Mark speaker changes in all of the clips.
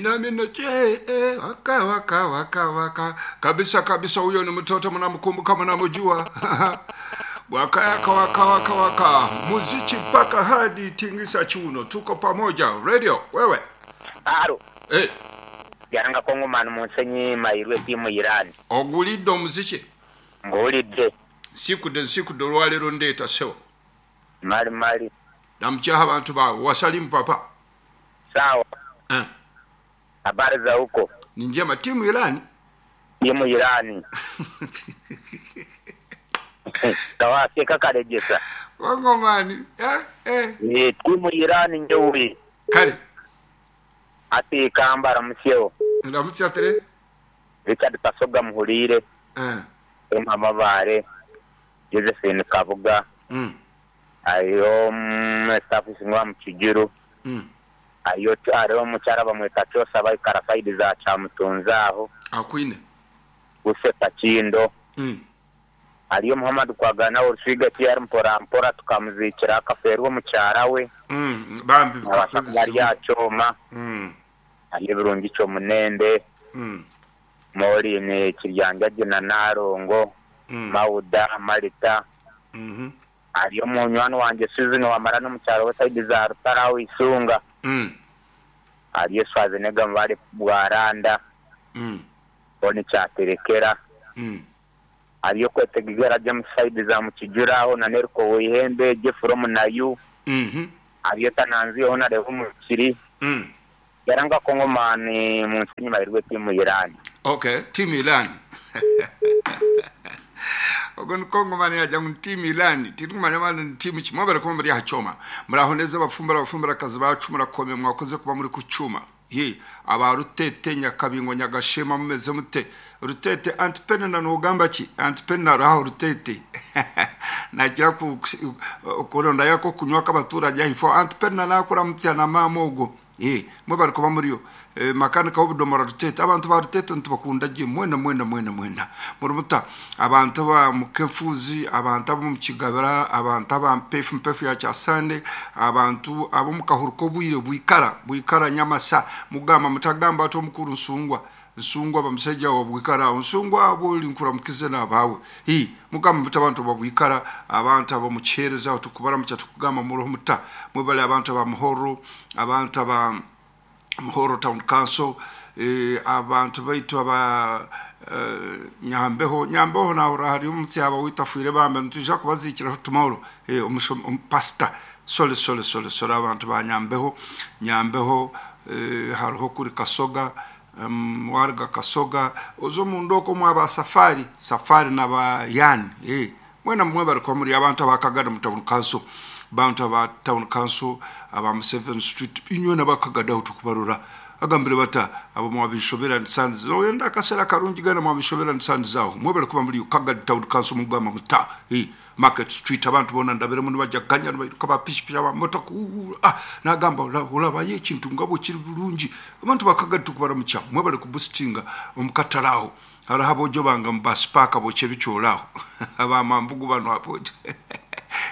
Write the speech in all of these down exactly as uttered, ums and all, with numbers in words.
Speaker 1: Minamino che eh, waka waka waka waka kabisa kabisa. Huyo ni mtoto mnamkumbuka, mnamjua. Waka waka waka waka waka, muziki mpaka hadi tingisa chiuno. Tuko pamoja radio wewe.
Speaker 2: Aro
Speaker 1: eh
Speaker 2: byanga kongomani munsenyi mairwe timu Iran
Speaker 1: ogulidde omuziki
Speaker 2: ngulidde
Speaker 1: nsikudde nsikudde olwaleero ndeeta sewo
Speaker 2: mali mali
Speaker 1: namukyaha abantu bawe wasalimu papa.
Speaker 2: Sawa
Speaker 1: eh.
Speaker 2: Habari za huko?
Speaker 1: Ni njema. Timu Irani,
Speaker 2: timu Irani kawaseka kalejesa
Speaker 1: kongomani eh, eh.
Speaker 2: Ni timu Irani njewi
Speaker 1: kale
Speaker 2: ati kambara musyewo
Speaker 1: ndamutya tere
Speaker 2: Richard Kasoga muhulire
Speaker 1: eh.
Speaker 2: Emma Mabare Josephine Kabuga
Speaker 1: mm.
Speaker 2: ayo staff singwa mukijuru
Speaker 1: mm.
Speaker 2: ayo ariho omukyara bamweta kyosa baikara saidi za kyamutunza aho
Speaker 1: akwine
Speaker 2: useka kindo
Speaker 1: mm.
Speaker 2: aliyo Muhammad kwagana orusiga tiyari mpora mpora tukamuzikira akaferwa omukyara we
Speaker 1: mm. Bambi
Speaker 2: bari yakyoma
Speaker 1: mm.
Speaker 2: aliyo birungi kyomunende
Speaker 1: mm.
Speaker 2: Moline kiryanja na Narongo
Speaker 1: mm.
Speaker 2: Mauda Marita
Speaker 1: mm -hmm.
Speaker 2: aliyo munywani wanje Susan wamara n'omukyaro we saidi za Rutaraho Isunga
Speaker 1: mm.
Speaker 2: aliyo Schwarzenegger mbale Bwaranda
Speaker 1: mm.
Speaker 2: oni kyaterekera
Speaker 1: mm.
Speaker 2: aliyo kwetegegera James saidi za mukijuraho na Nerko Wihembe Jeffrom nayu
Speaker 1: mm -hmm.
Speaker 2: aliyo tananziho na Revo mukiri
Speaker 1: mm.
Speaker 2: yaranga kongomani munsinyi mairwe timu Irani.
Speaker 1: Okay, timu Irani. Ogon kongomani aja mu timu Irani tirikumanya bana timu kimwe bariko muri hachoma murahoneza abafumbara abafumbara kazi bacu murakome mwakoze kuba muri kucuma ye aba Rutete Nyakabingo Nyagashema mumeze mute Rutete antipena nogamba ki antipena raho Rutete nagira ku kuronda yako kunywa kabaturage ifo antipena nakora mutya na mamogo eh mwe bariko bamuriyo e, makanika w'obudomora Rutete abantu ba Rutete ntibakunda je mwena mwena mwena mwena murumuta abantu ba mukefuzi abantu abo mukigabira abantu aba mpefu mpefu ya kyasande abantu abo mukahuruko bwire bwikara bwikara nyamasa mugamba mutagamba ato mukuru nsungwa nsungwa bamusajja wa bwikara nsungwa abo linkura mukize nabawe hi mugamba mutabantu babwikara abantu abo muchereza tukubara mucha tukugamba muroho muta mwebale abantu aba muhoro abantu aba Muhoro Town Council eh, abantu baitu aba eh, Nyambeho Nyambeho naho hari umutsi aba witafuire bambe ntija kubazikira tomorrow eh, um, pastor sole sole sole sole abantu ba Nyambeho Nyambeho eh, hariho kuri Kasoga um, warga Kasoga ozo mundoko mwaba safari safari na ba yani eh mwena mwe bariko muri abantu abakagada mu town council bantu aba town council aba Seven Street inywe nabakagada tukubarura agambire bata abo mwabishobera nsanzi oyenda akasera karungi gana mwabishobera nsanzi zaho mwe bariko muri Kagadi town council mugamba muta eh Market Street abantu bona ndabere muno bajya ganya bayiruka bapishipisha ba motoka ah nagamba olaba ye kintu ngabo kiri bulungi abantu bakagadi tukubara mucha mwe bari kuboostinga omukataraho harahabojo banga mbasipaka boche bicholaho aba mambugu bano apoje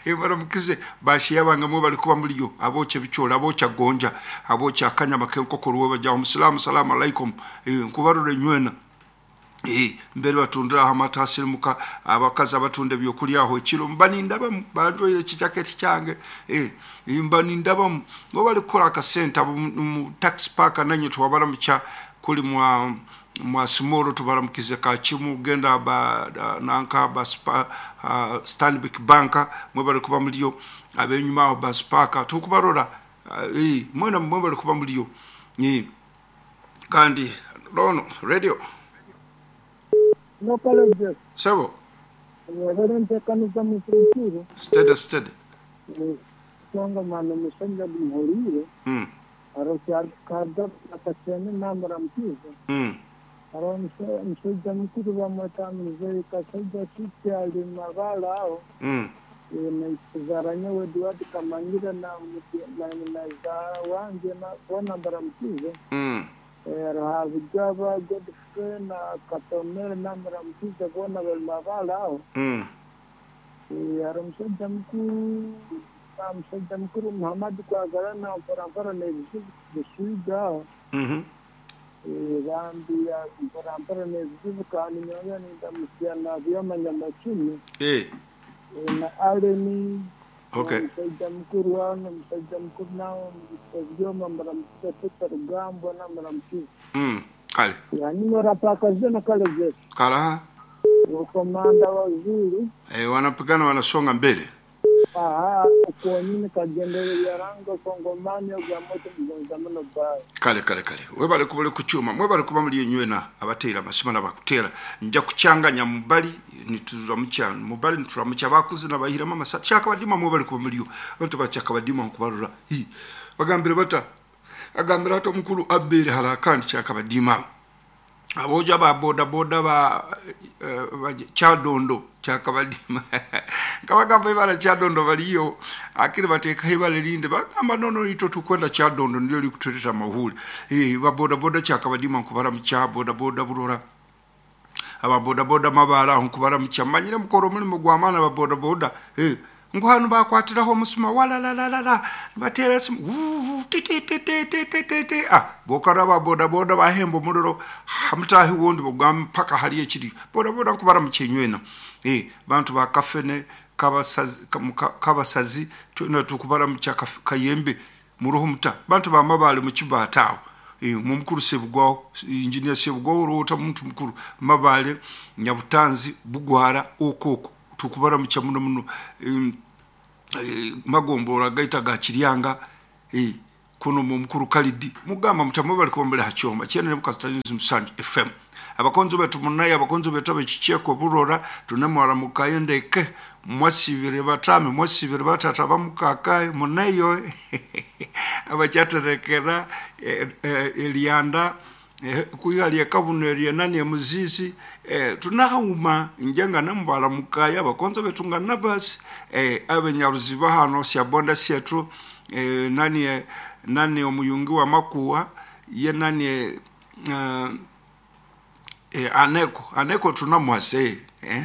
Speaker 1: ebara mukize bashi yabanga mwe bali kuba muliyo aboche bichola abocha gonja abocha akanyama kenkoko ruwe baja omusalamu salamu alaikum nkubarure nywena eh mbere batundira amata asirimuka abakazi abatunda byokulyaho ekiro mbaninda banjoyire kijaketi kyange eh mbaninda bamu ngo bali kukola akasente mu tax park nanye twabara mucha kuli mwa mwa simoro tubaramukize kachimu genda ba nanka ba spa, uh, Stanbic Banka mwe bali kuba muliyo abenyuma aho ba spaka tukubarora uh, eh mwena mwe bali kuba muliyo ni kandi rono radio
Speaker 3: no college
Speaker 1: sabo
Speaker 3: reverente kanuza mutuntiro
Speaker 1: steady steady
Speaker 3: songa mano musanja bimhorire
Speaker 1: mm
Speaker 3: aro kada akasene namramkize
Speaker 1: mm
Speaker 3: aro mshaija mkuru bamweta mzee kashaija sisi alimagala aho
Speaker 1: mm
Speaker 3: na nyewe Eduard Kamangira na na na za wange na bona baramkize
Speaker 1: mm
Speaker 3: Rahavijaba Godfrey na Katomere namramkize bona balimagala aho
Speaker 1: mm
Speaker 3: aro mshaija mkuru mshaija mkuru Muhammad kwagala na mpora mpora na bisuiga
Speaker 1: mhm
Speaker 3: Bambi mpora mpora nezibu kandi nyonya nindamusya na byoma nyamakini
Speaker 1: eh
Speaker 3: na Aleni.
Speaker 1: Okay.
Speaker 3: Musajja mukuru wano musajja mukuru nawo byoma mbaramukisa Peter Rugambwa na mbaramukisa.
Speaker 1: Mm kale.
Speaker 3: Yani murapaka zena kale zetu.
Speaker 1: Kala.
Speaker 3: Komanda wa Zulu.
Speaker 1: Eh, wanapigana wanasonga mbele.
Speaker 3: Aha, kuonyini kagendere ya rango kongomani ya moto mgonzamano bae.
Speaker 1: Kale kale kale. Webale kubale kuchuma, mwebale kuba muli nywena abatera masima nabakutera. Nja kuchanganya mubali nituzura mucha, mubali nituzura mucha bakuzi nabahira mama chaka badima mwebale kuba muliyo. Abantu bachaka badima nkubarura. Hi. Bagambire bata. Agambira ato mukuru abere harakandi chaka badima. Aboja ba boda boda ba, uh, ba Chadondo chakabadima kabagamba ibara Chadondo baliyo akiri bateka ibale linde bagamba nono ito tukwenda Chadondo ndio likutuleta mahuli eh ba boda boda chakabadima nkubara mcha boda boda burora aba boda boda mabara nkubara mcha manyire mukoro mulimo gwa mana ba boda boda eh nguhanu bakwatiraho musuma wala la la la la batera simu ti ti ti ti ti ti ti ah bokara ba boda boda bahembo muliro hamtahi wondi bugam paka hali ekiri boda boda nkubara muchenywena eh bantu ba kafene kabasazi kabasazi tuna tukubara mucha kayembe muruho muta bantu ba mabale mu kibatawo eh mumukuru sebugwaho engineer sebugwaho rota muntu mukuru mabale nyabutanzi bugwara okoko tukubara mucha muno muno e, magombora gaita ga kiryanga eh kuno mukuru Kalidi mugamba mutamu bali kubombera hachoma chene mukasitanizi musanju F M abakonzo betu munaye abakonzo betu abechicheko burora tunemwara mukayendeke mwasibire batame mwasibire batata bamukakaye munayo abachaterekera elianda kuyalia kabuno elianani ya muzizi eh, tunahauma njenga nambala mukaya abakonzo betu nga nabasi eh, abenyaruziba hano syabonda syetu eh, nani nani omuyungi wa makuwa ye nani uh, eh, aneko aneko tunamwase eh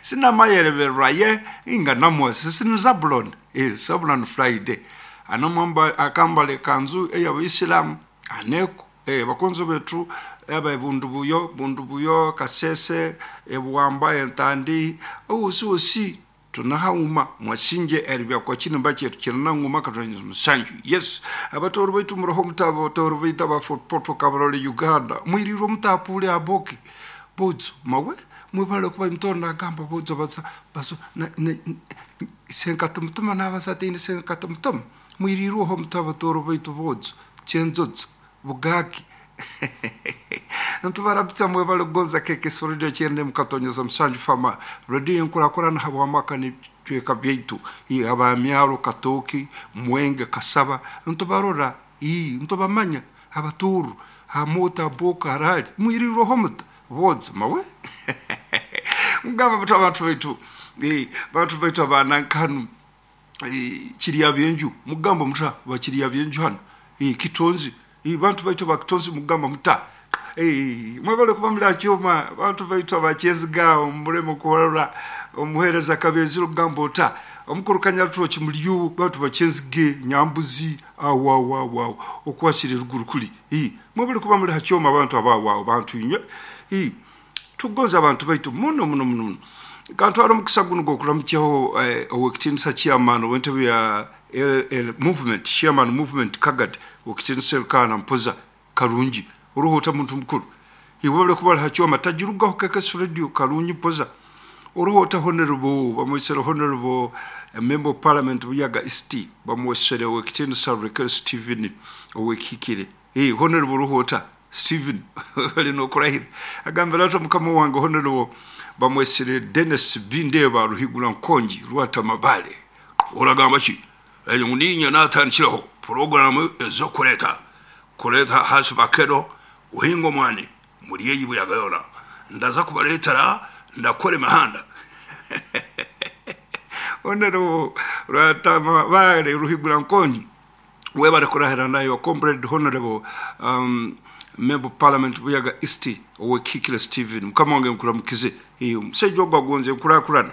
Speaker 1: sina mayereberwa ye inga namwase sina Zabulon eh Zabulon Friday anomamba akambale kanzu eya aneko eh bakonzo betu aba bundu buyo bundu buyo kasese ebuwamba entandi usi usi tunahauma mwasinje eribya kwa chini bache kirana nguma katonyeza musanju. Yes abatoro baitu muroho mutabo toro baita ba Fort Kabarole Uganda mwiriro mutapule aboki bodzo mawe mwebale kuba mtona gamba bodzo baza bazo senkata mutuma nabasatini senkata mutuma mwiriro ho mutabo toro baitu bodzo chenzodzo bugaki ntubarabitsa mwebale kugonza keke radio chende mukatonyeza musanju fama radio nkurakora na habwamaka ni chweka byaitu abamyaro katoki mwenge kasaba ntubarora i ntubamanya abaturu hamuta boka harali mwiriro ho muta bodzo mawe mugamba mutu abantu baitu eh bantu baitu abanankanu kiriya byenju mugamba muta bakiriya byenju hano eh kitonzi eh bantu baitu bakitonzi mugamba muta eh mwebale kuba mulakyoma bantu baitu abakyezigaawo muleme kubarora omuhereza kabezi rugamba ota omukuru kanyaruturo kimulyu bantu bakyezige nyambuzi awa awa awa okwasire ruguru kuli eh mwebale kuba muli hakyoma abantu abawa bantu inywe eh tugoza abantu baitu muno muno muno kantwara omukisa guno gwokuramukyaho eh, owekitinisa chairman w'entebe ya L L movement chairman movement kagad owekitinisa Elkana Mpoza Karungi oruhota muntu mukuru iwebale kuba hakyoma tajirugaho K K S radio Karungi Mpoza oruhota honorable bamwesere honorable member of parliament Buyaga East bamwesere owekitinisa Raquel Steven owekikire eh honorable ruhota Steven ali no kurahira agambira ati mukama wange honorable bamwesere Dennis Bindeba Ruhigura Nkongi Rwatamabale oragamba ki eyo ninya natandikiraho programu ezokureta kureta hasi bakero uhingo mwane muri yeyi buyagayora ndaza kubaretera ndakora imihanda honorable Rwatamabale Ruhigura Nkongi webare kurahira nayo comrade honorable um, member of parliament Buyaga East owekikire Steven mukama wange nkuramukize eh musajja ogwa gonze nkurakurana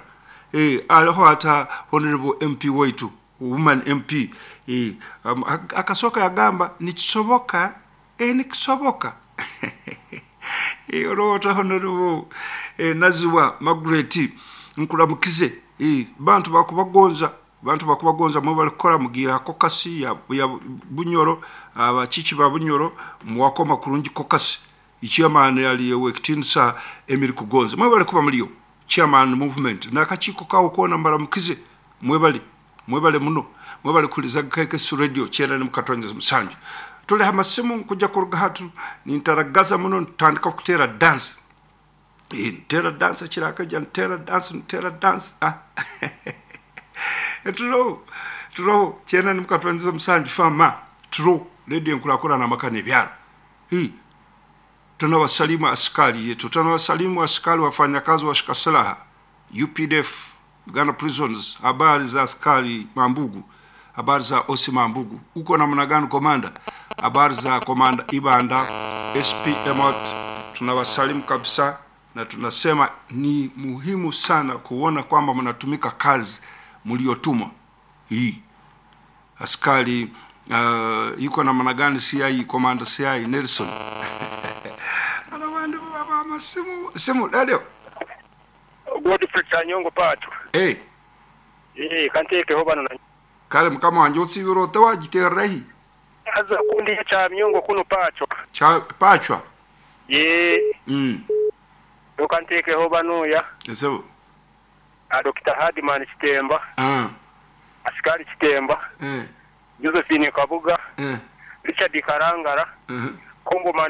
Speaker 1: eh aliho ata honorable M P waitu woman M P eh um, akasoka yagamba nikisoboka E, nikisoboka. E, olowooza Honorable e, Naziwa Margaret, nkulamukize. E, bantu bakubagonza, bantu bakubagonza, mwe balikora mugira kokasi ya, ya Bunyoro, abachichi ba Bunyoro muwakoma kurungi kokasi. Chairman yali wekitinsa Emiri Kugonza, mwe balikuba muliyo chairman movement n'akakiiko kawo kona mbalamukize, mwebale, mwebale muno, mwebale kuliza K K S Radio kyenda ne mukatonyeza musanju. Tuli hamasimu nkuja kuruga hatu nintaragaza muno, ntandika kutera dance. Eh, ntera dance kirakaja, ntera dance, ntera dance, ah. Tulo tulo kyenda ne mukatonyeza musanju fama tulo radio nkulakulana amaka n'ebyalo. Hi, tunawasalimu askari yetu, tunawasalimu askari wafanyakazi wa shika silaha U P D F, Uganda Prisons. Habari za askari Mambugu, habari za Osi Mambugu, uko namna gani komanda? Habari za komanda Ibanda, S P Emot, tunawasalimu kabisa na tunasema ni muhimu sana kuona kwamba mnatumika kazi mliotumwa. Hii askari uh, yuko namna gani C I, komanda C I Nelson? Abandi baba amasimu simu radio.
Speaker 4: Godfrey Kanyongo Pato.
Speaker 1: Eh.
Speaker 4: Eh, kantekeho bano na
Speaker 1: Kale mukama wanje, osibira otewagitererahi?
Speaker 4: Aza kundi cha myongo kuno pacho.
Speaker 1: Cha pachwa.
Speaker 4: Ye.
Speaker 1: mm
Speaker 4: Kantekeho bano ya.
Speaker 1: Ese.
Speaker 4: A Doctor Hardman Chitemba,
Speaker 1: ah
Speaker 4: Askari Chitemba,
Speaker 1: eh
Speaker 4: Josephine Kabuga,
Speaker 1: eh
Speaker 4: Richard Karangara,
Speaker 1: uh
Speaker 4: Kongomani.